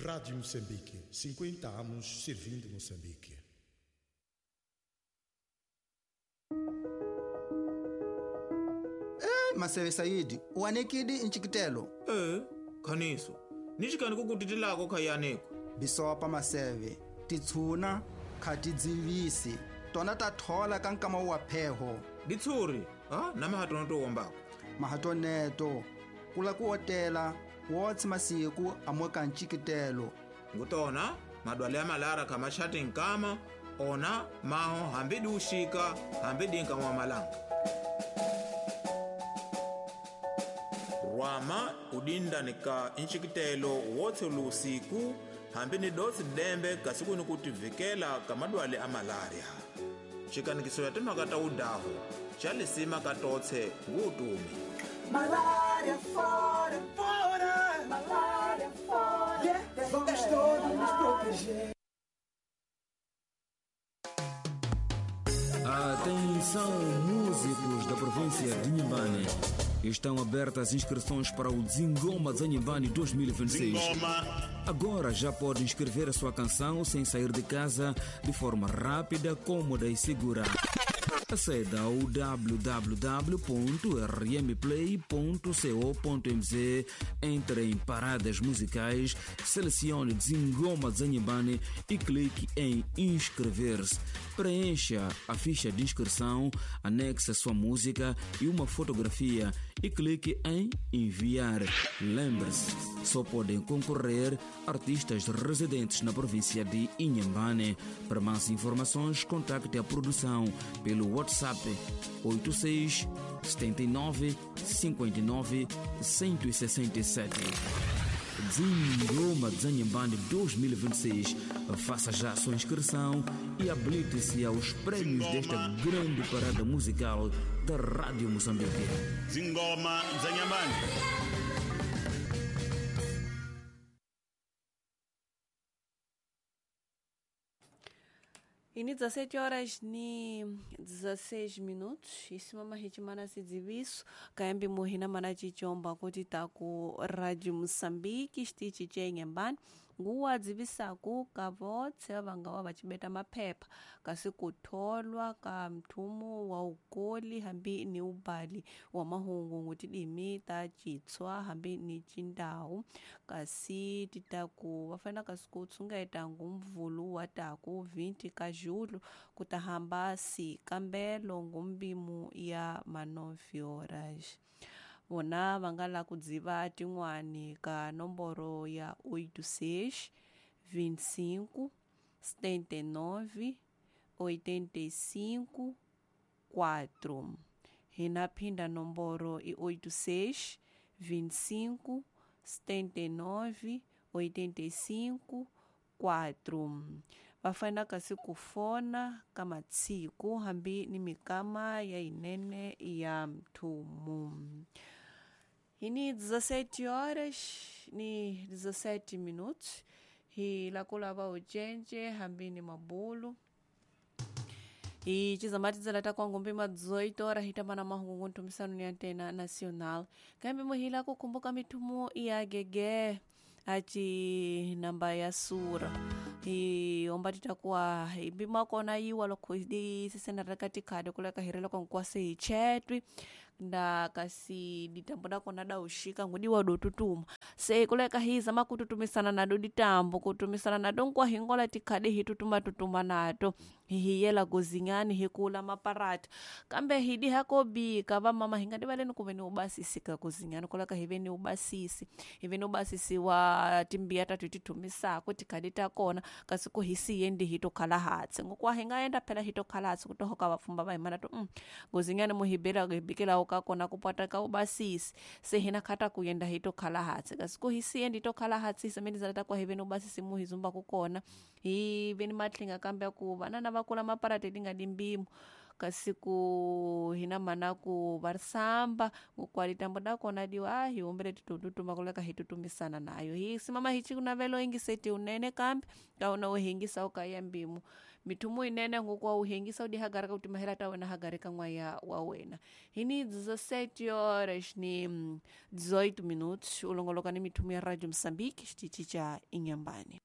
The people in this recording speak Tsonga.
Rádio Moçambique, 50 anos servindo Moçambique. Maseve Saidi, uanekidi nchikitelo. Khaniso, nixikani ku kutitilako khayaneko. Bisopa maseve, titshuna khatidzivisi, tona ta thola ka nkama wa pheho. Ditshuri, ha na mahatono to wombako. Mahatoneto, kula ku otela, wotsi masiku amoka nchikitelo. Ngutona, madwale ya malara khamachati nkama, ona maho hambi di uxika, hambi di nkama wa malanga. Rwama udinda ni ka nxikitelo wotse lusiku hambi ni dotsi dembe kasi ku ni ku tivikela ka madwale a malaria. Xikanikiso ya timhaka ta udahu xa lisima ka totse ngutumi. Malaria fora, fora, malaria fora. Yeah, vamos todos nos proteger. Atenção, músicos da província de Inhambane. Estão abertas as inscrições para o Zingoma Zanhambane 2026. Zingoma. Agora já pode inscrever a sua canção sem sair de casa, de forma rápida, cômoda e segura. Aceda ao www.rmplay.co.mz, entre em paradas musicais, selecione Zingoma Zanhambane e clique em inscrever-se. Preencha a ficha de inscrição, anexe a sua música e uma fotografia e clique em enviar. Lembre-se, só podem concorrer artistas residentes na província de Inhambane. Para mais informações, contacte a produção pelo WhatsApp 86 79 59 167. Zingoma Zanhambane 2026. Faça já a sua inscrição e habilite-se aos prêmios desta grande parada musical da Rádio Moçambique. Zingoma Zanhambane. Ini 17 horas ni 16 minutos isimama hichimana sidziviso kayambi muhina mana chichomba kuti taku Radio Moçambique xitichi che Inhambane nguwa dzivisaku kavotse vangawa vachibeta maphepha kasi kutholwa ka mthumu wa ukoli hambi ni ubali wa mahungu ngutidimi ta chitswa hambi ni chindau kasi titaku vafana kasi kutshungeta ngumvulu wa taku 20 ka julho kutahamba si kambelo ngumbimu ya ma9 horas. Vona va nga la ku dziva tin'wani ka nomboro ya 86 25 79 85 4. Hina phinda nomboro i 86 25 79 85 4. Va fanele kasi ku fona ka matsiku hambi ni mikama ya inene ya mthumu. Ini 17 horas ni 17 minutos hi la ku lava ucence hambi ni mabulu. E tizamatidzela ta kwangombe ma 18 horas hi tamba na mahungu nthumisano ni antena nacional. Kambe muhila kukumbuka mithumu ya gege aci namba ya sura. I omba titakuwa imbima kona yiwa loko di sisena raka tikhadi kuleka hirela kwa nkwase hi chetwi nda kasi ditambo dakona da ushika ngudi wa dotutuma se kuleka hiza makututumisana nado ditambo kutumisana nado nkwa hingola tikhadi hitutuma tutuma nato hihiyela gozinyani hikula maparata kambe hidi hakobika vamama hingadi valeni kuve ni ubasisi ka gozinyani kuleka hive ni ubasisi hive ni ubasisi wa timbiya tatu titumisako tikhadi takona kasi ku hisiye ndi hitokhala hatsi ngokuwa hingaenda phela hitokhala hatsi kutohoka vapfumba va himana to gozinyani muhibela hibikelawo kakona kupata ka ubasisi se hina khata kuyenda hitokhala hatsi kasi ku hisiye ndi tokhala hatsi isemeni takwa hive ni ubasisi muhizumba kukona hive ni matlinga kambe ku vanana va kula maparati lingadi mbimo kasi ku hina mana ku varisamba kukwalitambo dakona diwa hi humbele titututuma kuleka hitutumisana nayo hi simama hichi kunavelo ingiseti unene kambe kauna uhingisa ukaya mbimo. Mithumu inene ngoku wa uhengisa udi hagara ka utimahela ta wena hagare ka n'waya wa wena. Hini 17 horas ni 18 minutos, ulongoloka ni mithumu ya Radio Mozambique, xitichi cha Inhambane.